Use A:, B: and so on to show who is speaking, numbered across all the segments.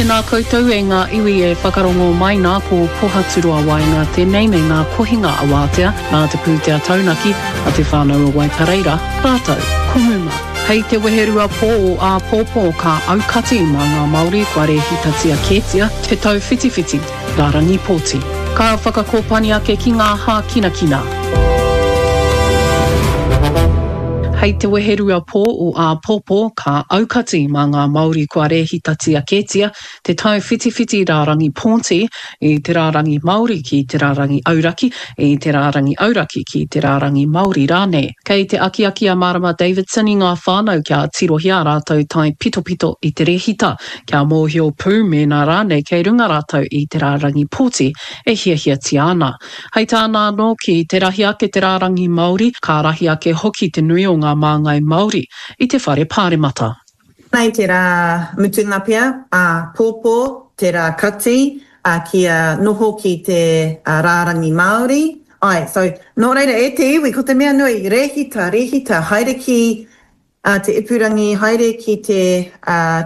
A: Tēnā koutou e ngā iwi e whakarongo mai nā ko Pohaturoa Waenga tēnei me ngā kohinga awātea nā te pūtea taunaki a Te Whānau o Waipareira rātou ko Muma. Hei te weherua pō o āpōpō ka aukati mā ngā Māori kua rēhitatia kētia te tauwhitiwhiti rārangi pōti. Ka whakakōpani ake ki ngā hākinakina. Hei te weherua pō o āpōpō, ka aukati mā ngā Māori kua rēhitatia kētia te tauwhitiwhiti rārangi pōti i te rārangi Māori ki te rārangi auraki, i te rārangi auraki ki te rārangi Māori rānei. Kei te akiaki a Marama Davidson i ngā whānau kia tirohia ā rātou taipitopito i te rēhita, kia mōhio pū mēnā rānei kei runga rātou i te rārangi pōti e hiahiatia ana. Hei tāna anō, ki te rahi ake te rārangi Māori, ka rahi ake hoki te nui o ngā māngai Māori i te whare pāremata.
B: Nei te rā mutunga pea, ā, pōpō te rā kati, ā, kia noho ki te rārangi Māori. Āe, so, nō reira, e te iwi, ko te mea nui, rēhita, rēhita, haere ki Ā te ipurangi, haere ki te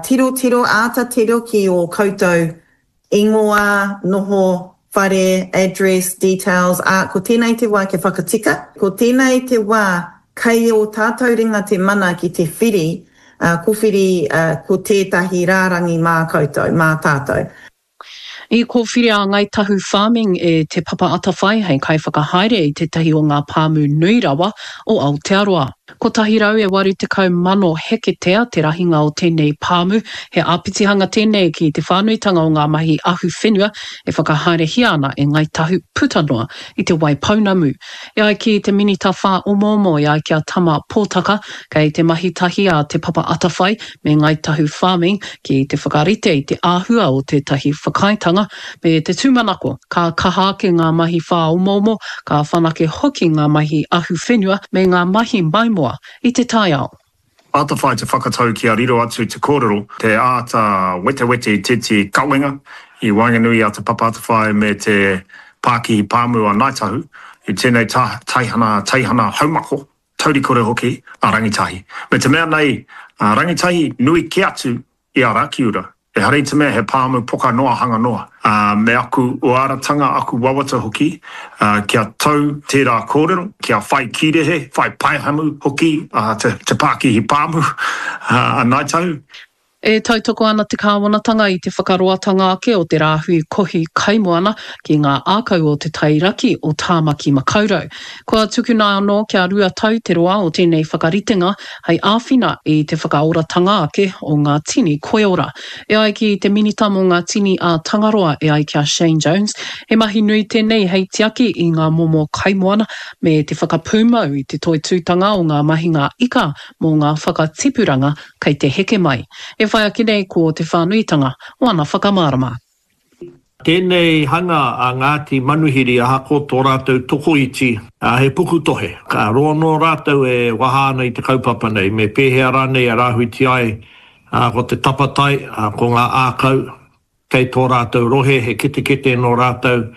B: tirotiro, āta tiro ki ō koutou ingoa, noho, whare, address, details, ā, ko tēnei te wā kia whakatika, ko tēnei te wā kei ō tātou ringa te mana ki te whiri, ā, kowhiri ko tētahi rārangi mā koutou, mā tātou.
A: I kōwhiria a Ngāi Tahu Farming e Te Papa Atawhai hei kaiwhakahaere i tētahi o ngā pāmu nui rawa o Aotearoa. 180,000 heketea te rahinga o tēnei pāmu, he āpitihanga tēnei ki te whānuitanga o ngā mahi ahuwhenua e whakahaerehia ana e Ngāi Tahu puta noa i Te Waipounamu. E ai ki te Minita Whāomoomo e ai ki a Tama Pōtaka, kei te mahi tahi a Te Papa Atawhai me Ngāi Tahu Farming ki te whakarite i te āhua o tētahi whakaaetanga, me te tūmanako ka kaha ake ngā mahi whāomoomo, ka whanake hoki ngā mahi ahuwhenua me ngā mahi maimoa i te taiao.
C: Atawhai te whakatau kia riro atu te kōrero, te āta wetewete i tētehi kawenga i waenganui i a Te Papa Atawhai me te Pākihi Pāmu a Ngāi Tahu i tēnei teihana, teihana haumako. Taurikore hoki a Rangitahi. Me te mea nei, a Rangitahi nui kē atu i a Rakiura. Ehara i te mea he pāmu poka noa hanga noa. Ā, me aku uaratanga, aku wawata hoki, ā, kia tau tērā kōrero, kia whai kīrehe, whai paehamu hoki a te, te pākihi pāmu, ā, a Ngāi Tahu.
A: E tautoko ana te kāwanatanga i te whakaroatanga ake o te rāhui kohi kaimoana ki ngā ākau o te tai raki o Tāmaki Makaurau. Kua tukuna anō kia 2 tau te roa o tēnei whakaritenga hei āwhina i te whakaoratanga ake o ngā tini koiora. E ai ki te Minita mō ngā Tini a Tangaroa e ai ki a Shane Jones, he mahi nui tēnei hei tiaki i ngā momo kaimoana me te whakapūmau i te toitūtanga o ngā mahinga ika mō ngā whakatipuranga kei te heke mai. E whai ake nei ko te whānuitanga o ana whakamārama.
D: Tēnei hanga a Ngāti Manuhiri ahakoa tō rātou tokoiti, he pukutohe. Ka roa noa rātou e waha ana i te kaupapa nei, me pēhea rānei e rāhuiti ai ko te tapatai, ko ngā ākau, Kei tō rātou rohe he ketekete nō rātou,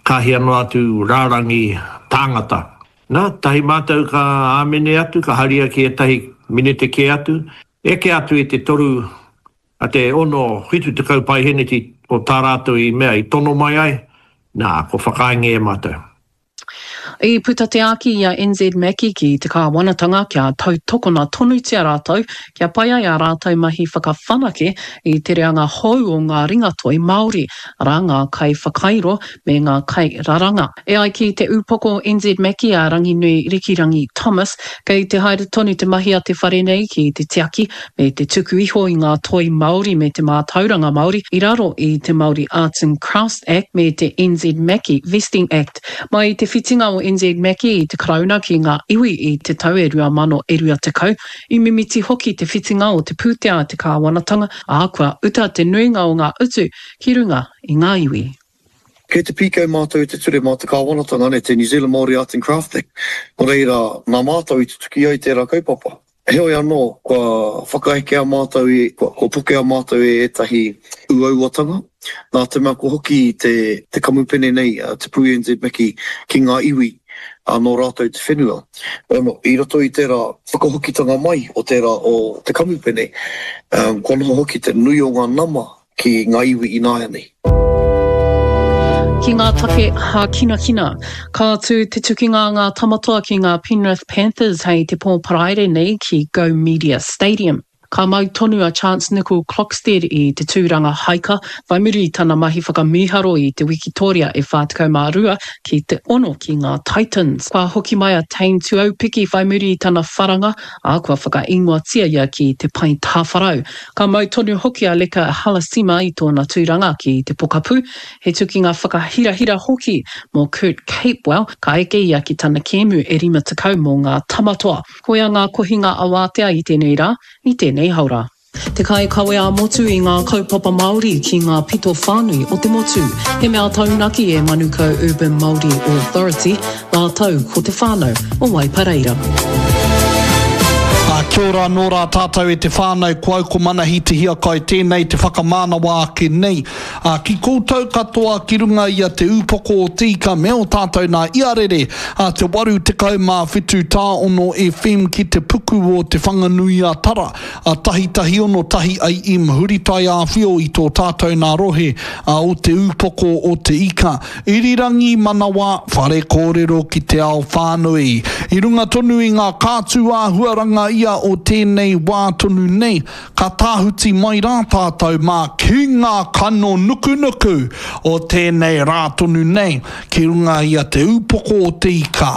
D: ka hia noa atu rārangi tāngata. Nā, tahi mātou ka āmene atu, ka haria ki ētahi minete kē atu, eke atu i te toru, a te ono, 70 paeheneti o tā rātou i mea i tono mai ai, nā, kua whakaaengia e mātou.
A: I puta te āki i a NZ Mackie ki te kāwanatanga kia tautokona tonutia rātou kia pai ai ā rātou mahi whakawhanake i te reanga hou o ngā ringatoi Māori, arā ngā kaiwhakairo me ngā kairaranga. E ai ki te ūpoko NZ Mackie a Ranginui Rikirangi Thomas, kei te haere tonu te mahi a te whare nei ki te tiaki me te tuku iho i ngā toi Māori me te mātauranga Māori i raro i te Māori Arts and Crafts Act me te NZ Mackie Vesting Act. Mai i te whitinga o NZ Mackie i te Karauna ki ngā iwi i te tau e 2020, i mimiti hoki te whitinga o te pūtea a te kāwanatanga, ā, kua uta te nuinga o ngā utu ki runga i ngā iwi.
E: Kei te pīkau mātou i te ture mā te kāwanatanga, nē, te New Zealand Māori Arts and Crafts Act, nō reira, nā mātou i tutuki ai tērā kaupapa. Heoi anō, kua whakaekea mātou i, kua pokea mātou e ētahi uauatanga, nā te mea kua hoki te, te kamupene nei, te Pū NZ Mickey, ki ngā iwi, ā, nō rātou te whenua. Ono, i roto i tērā whakahokitanga mai o tērā o te kamupene, kua noho hoki te nui o ngā nama. ki ngā iwi ināianei.
A: Ki ngā take hākinakina, ka tū te tukinga a ngā Tamatoa ki ngā Penrith Panthers hei te pō Paraire nei ki Go Media Stadium. Ka mau tonu a Chance Nicol-Klokstad i te tūranga haika, whai muri i tana mahi whakamīharo i te wikitoria e 42 ki te ono ki ngā Titans. Kua hoki mai a Tane Tuaupiki whai muri i tana wharanga, ā, kua whakaingoatia ia ki te pae tāwharau. Ka mau tonu hoki a Leka Halasima i tōna tūranga ki te pokapū, he tukinga whakahirahira hoki mō Kurt Capewell, ka eke ia ki tana kēmu e 50 mō ngā Tamatoa. Koia ngā kohinga awātea i tēnei rā, i tēnei haora. Te kaikawe ā-motu i ngā kaupapa Māori ki ngā pito whānui o te motu. He mea taunaki e Manukau Urban Māori Authority rātou ko te whānau o Waipareira.
F: Ā, kia ora anō rā tātou e te whānau, ko au ko Manahi Te Hiakai tēnei te whakamānawa ake nei. Ā, ki koutou katoa ki runga i a Te Ūpoko o Te Ika me ō tātou nā iarere, ā, te 87 tāono FM ki te puku o Te Whanganui-a-Tara, ā, tahitahi ono tahi AM huritai āwhio i tō tātou nā rohe, ā, o Te Ūpoko o Te Ika. Irirangi manawa, whare kōrero ki te ao whānui. I runga tonu i ngā kātū āhuaranga ia o tēnei wā tonu nei, Ka tāhuti mai rā tātou mā ki ngā kano nukunuku o tēnei rā tonu nei, ki runga i a Te Ūpoko o Te Ika,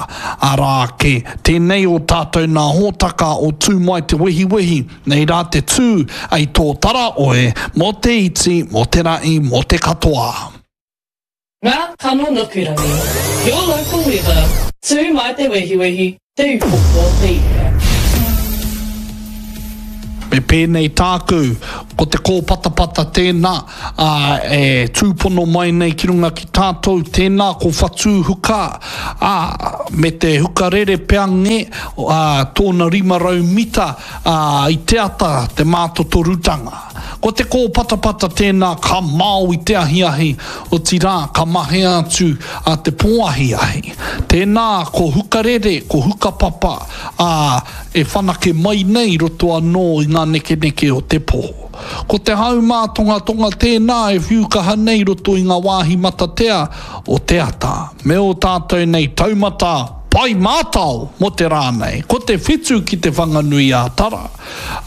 F: arā ake, tēnei o tātou nā hōtaka o Tū Mai Te Wehiwehi, nei rā te tū, ei tōtara oe, mō te iti, mō te rahi, mō te katoa.
G: Ngā kano nukurangi, Your local weather, Tū mai te wehiwehi, Te Upoko o te Ika.
F: Me pēnei tāku, ko te kōpatapata tēnā, ā, e tūpono mai nei ki runga ki tātou, tēnā ko whatū huka, ā, me te hukarere pea nge, ā, tōna 500 mita, ā, i te ata te mātotorutanga. Ko te kōpatapata tēnā ka mao i te ahiahi, otirā, ka mahea atu a te pōahiahi. Tēnā, ko hukarere, ko hukapapa, ā, e whanake mai nei i roto anō i ngā nekeneke o te pō. Ko te hau mātongatonga tēnā e whiu kaha nei i roto i ngā wāhi matatea o te ata, me ō tātou nei taumata pai mātao mō te rā nei, ko te whitu ki Te Whanganui-ā-Tara.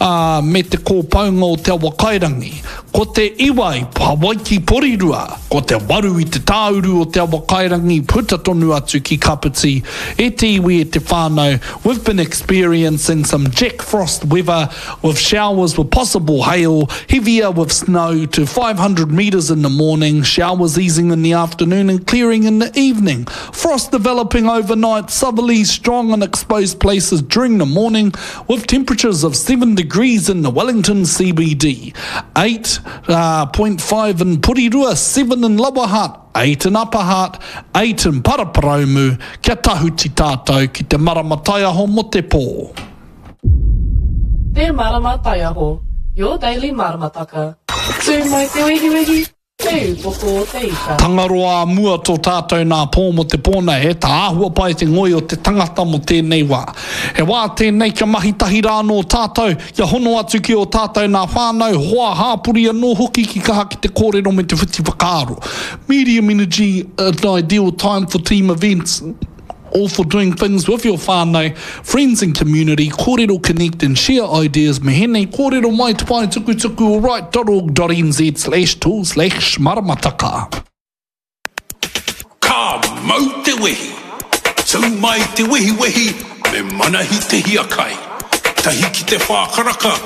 F: ā, me te kōpaunga o Te Awakairangi, ko te iwa i Hawaiki Porirua, ko te waru i te tāuru o Te Awakairangi puta tonu atu ki Kapiti, e te iwi e te whānau, we've been experiencing some Jack Frost weather with showers with possible hail, heavier with snow to 500 metres in the morning, showers easing in the afternoon and clearing in the evening. Frost developing overnight, southerlies strong in exposed places during the morning, with temperatures of 7 degrees in the Wellington CBD, 8.5 in Porirua, 7 in Lower Hutt, 8 in Upper Hutt, 8 in Paraparaumu, kia tahuti tātou ki te marama taiaho mo te pō.
G: Te Marama Taiaho, your daily maramataka. Tū mai te wehiwehi, Te upoko o te ika.
F: Tangaroa a mua tō tātou nā pō mō te pō nei, he tāhua pai te ngoi o te tangata mō tēnei wā. He wā tēnei kia mahi tahi rā anō tātou, kia hono atu ki ō tātou nā whānau, hoa, hāpori anō hoki ki kaha ki te kōrero me te whiti whakaaro. Medium energy, an ideal time for team events. All for doing things with your whānau, friends and community, kōrero connect and share ideas me hēnei kōrero mai te pae tukutuku o write.org.nz slash tool slash maramataka.
H: Ka mau te wehi! Tū mai te wehiwehi me Manahi Te Hiakai. Tahi ki te whākaraka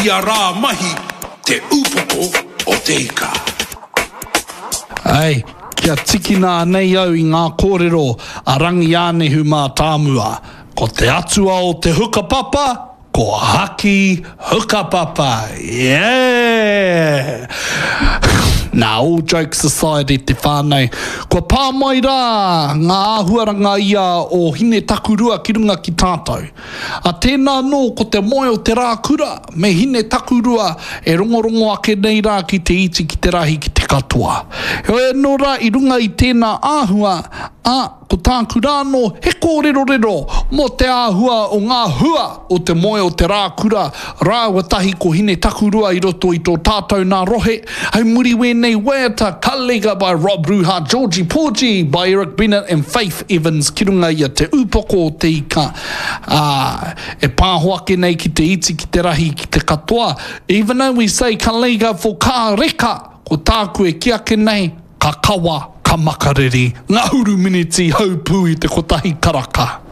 H: ia rā mahi Te Upoko o Te Ika.
F: Ei, kia tikina anei au i ngā kōrero a Rangiānehu Mātāmua, ko te atua o te hukapapa, ko Haki Hukapapa! Yeah! Nā, all jokes aside e te whānau, kua pā mai rā ngā āhuaranga ia o Hinetakurua ki runga ki tātou. A tēnā anō ko te moe o te rā kura me Hinetakurua e rongorongo ake nei rā ki te iti ki te rahi ki te katoa. katoa. Heoi anō rā i runga i tēnā āhua, ā, ko tāku rā anō he kōrerorero mō te āhua o ngā hua o te moe o te rākura rāua tahi ko Hinetakurua i roto i tō tātou nā rohe. Hei muri wēnei waiata Ka Lega by Rob Ruha, Georgie Porgy by Eric Bennett and Faith Evans ki runga i a Te Ūpoko o Te Ika, ā, e pāho ake nei ki te iti, ki te rahi, ki te katoa. Even though we say ka lega for ka reka, ko tāku e kī ake nei, ka kawa, ka makariri, ngahuru miniti haupū i te kotahi karaka.